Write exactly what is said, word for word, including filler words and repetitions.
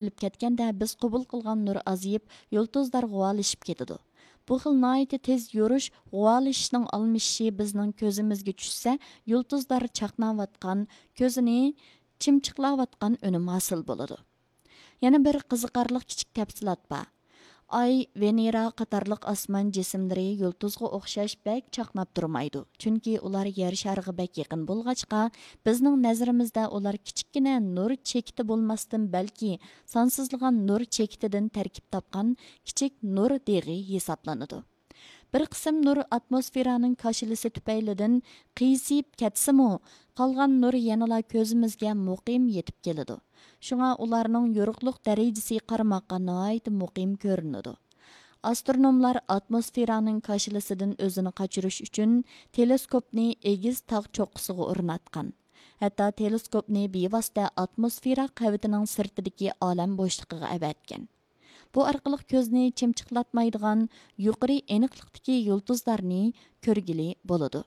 ئېلىپ كەتكەندە، بىز قوبۇل قىلغان نۇر ئازىيىپ، يۇلتۇزلار غۇۋالىشىپ كېتىدۇ. بۇ خىل ناھايىتى تېز يورۇش، غۇۋالىشىشنىڭ ئالمىشىشى بىزنىڭ كۆزىمىزگە چۈشسە، يۇلتۇزلار چاقناۋاتقان، كۆزنى چىمچىقلاۋاتقان ئۈنۈم ھاسىل بولىدۇ. يەنە بىر قىزىقارلىق كىچىك تەپسىلات بار. ئاي، ۋېنېرا قاتارلىق ئاسمان جىسىملىرى يۇلتۇزغا ئوخشاش بەك چاقناپ تۇرمايدۇ، چۈنكى ئۇلار يەر شارىغا بەك يېقىن بولغاچقا، بىزنىڭ نەزىرىمىزدە ئۇلار كىچىككىنە نۇر چېكىتى بولماستىن، بەلكى سانسىزلىغان نۇر چېكىتىدىن تەركىب تاپقان كىچىك نۇر دېغى ھېسابلىنىدۇ. بىر قىسىم نۇر ئاتموسفېرانىڭ كاشىلىسى تۈپەيلىدىن قىيسىيىپ كەتسىمۇ، قالغان نۇر يەنىلا كۆزىمىزگە مۇقىم يېتىپ كېلىدۇ. شۇڭا ئۇلارنىڭ يورۇقلۇق دەرىجىسى قارىماققا ناھايىتى مۇقىم كۆرۈنىدۇ. ئاسترونوملار ئاتموسفېرانىڭ كاشىلىسىدىن ئۆزىنى قاچۇرۇش ئۈچۈن تېلېسكوپنى ئېگىز تاغ چوققىسىغا ئورناتقان. ھەتتا تېلېسكوپنى بىۋاسىتە ئاتموسفېرا قەۋىتىنىڭ سىرتىدىكى ئالەم بوشلۇقىغا ئەۋەتكەن. بۇ ئارقىلىق كۆزنى چىمچىقلاتمايدىغان يۇقىرى ئېنىقلىقتىكى يۇلتۇزلارنى كۆرگىلى بولىدۇ.